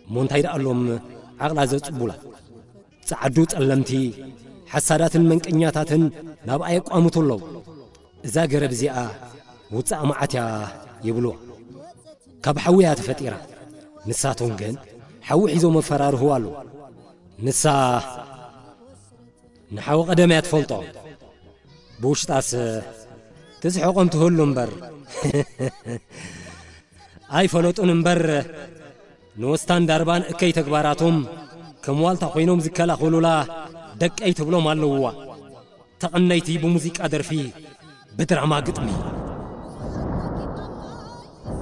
እሞ እንታይ ደኣሎም ዓቕላ ዘጽቡላ? ጸዓዱ ጸለምቲ፣ ሓሳዳትን መንቀኛታትን ናብኣ የቋምቱ ኣለዉ። እዛ ገረብ እዚኣ ውጻእ መዓት እያ ይብልዋ። ካብ ሓዊ እያ ተፈጢራ። ንሳቶም ግን ሓዊ ሒዞም ኣፈራርህዋ ኣለዉ። ንሳ ንሓዊ ቀደም እያ ትፈልጦ። ብውሽጣስ ትስሕቖም ትህሉ እምበር ኣይፈለጡን እምበር፣ ንወስታን ዳርባን እከይ ተግባራቶም ከም ዋልታ ኮይኖም ዝከላኸሉላ ደቀይ ትብሎም ኣለውዋ። ተቐነይቲ ብሙዚቃ ደርፊ፣ ብድራማ ግጥሚ።